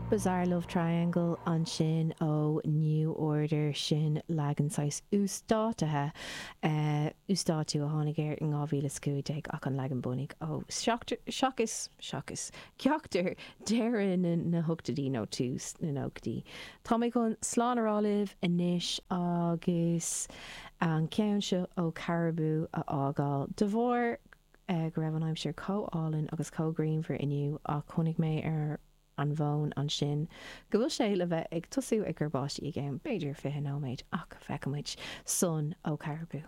Bizarre Love Triangle ansin ó New Order, sin leagan saghas uasdátaithe, uasdátú a tháinig air in 2015 ach an leagan bunaidh ó seachas, seachas, ceachtar deireadh na hochtóidí nó tús na nóchaidí. Tá mé chun slán a rá libh anois agus an ceann seo ó Caribou a fhágáil de bharr go raibh an aimsir chomh álainn agus chomh grianmhar inniu ach chonaic mé ar an bhfón ansin go bhfuil sé le bheith ag tosú ag cur báistí i gceann b'fhéidir 20 nóiméad ach feicfidh muid. Sun ó Caribou.